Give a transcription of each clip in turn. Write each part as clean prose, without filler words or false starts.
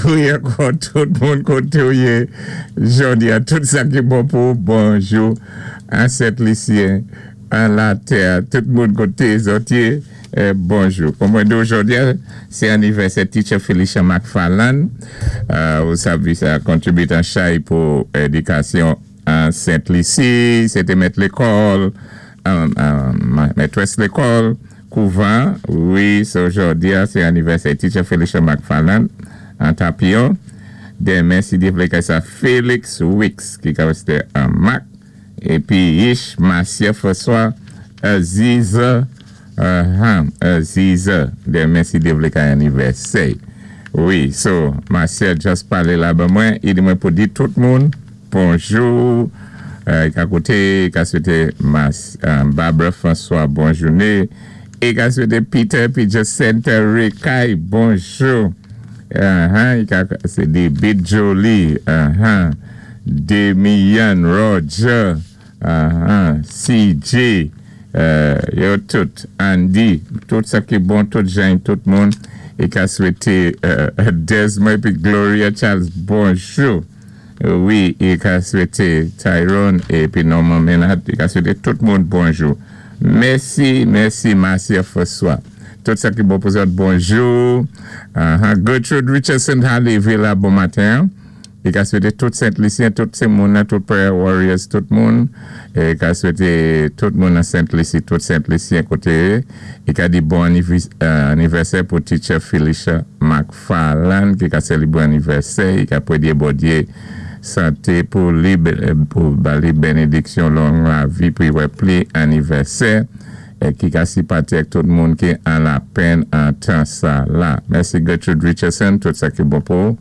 Wi, ankò tout moun koté ou yé jòdi-a, tout sa ki bon pou ou, bonjou an Sent Lisyen, an latè, tout moun koté zòt yé, bonjou. Kon mwen di ou jòdi-a, sé anivèsè Teacher Felicia McFarland, ou sav sa kontribit an chay pou édikasyon an Sent Lisi, sé té mèt lékòl, mètrès lékòl, kouvan, wi, so jòdi-a sé anivèsè Teacher Felicia McFarland an Tapion. Denmen, si Dye vlé, kay sa Felix Wicks ki ka wé an Mac, épi Ish Marcia François Aziza, Aziza, denmen si Dye vlé kay anivèsè. Wi, so Marcia just palé la ban mwen, i di mwen pou di tout moun bonjou, i ka kouté, i ka swété Mas, Barbara François bon jouné, i ka swété Peter pi Jacinta Rekay bonjou, i ka sé di Bit Jolie, Demian Roger, CJ, yo tout, Andy, tout sa ki bon, tout jan, tout moun, i ka swété Desmond pi Gloria Charles, bonjou. Wi, i ka swété Tyrone épi Norman Menard, i ka swété tout moun bonjou. Mèsi, mèsi Marcia François. Tout sa ki bon pou zòt, bonjou. Gertrude Richardson Halevé la bon maten. I ka swété tout Sent Lisyen, tout sé moun, tout Prayer Warriors, tout moun. I ka swété tout moun an Sent Lisi, tout Sent Lisyen koté. I ka di bon anivèsè pou Teacher Felicia McFarland ki ka sélébré anivèsè, i ka pwédyé Bondyé santé pou li, pou ba li bénédiksyon long lavi pou i wè pli anivèsè é ki ka sipati ak tout moun ki an lapenn an tan sa la. Mèsi Gertrude Richardson, tout sa ki bon pou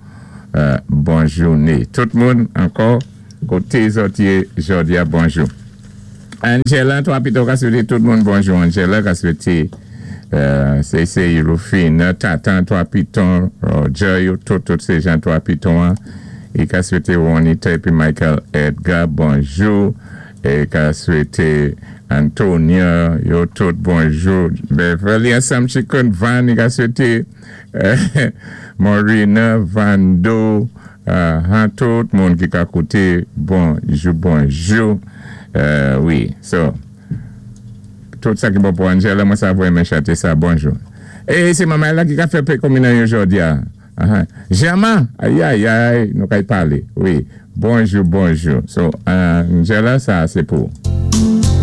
bon jouné. Tout moun ankò koté zòt yé jòdi-a, bonjou. Angela, 3 Piton ka swété tout moun bonjou. Angela ka swété sé Rufine, Tatan 3 Piton, Roger, yo tout, tout sé jan 3 Piton. I ka swété Juanita épi Michael Edgar, bonjou. É ka swété Antonia, yo tout bonjou. Beverly ansanm Chicken Van, i ka swété Morina, Vando, tout moun ki ka kouté, bonjou, bonjou. Wi, so, tout sa ki bon pou Angela, mwen sa vwèmen chanté sa, bonjou. É sé manmay la ki ka fè pé konminan yo jòdi-a. Germain, ayayay, nou kay palé. Wi, bonjou, bonjou. So, Angela, sa sé pou.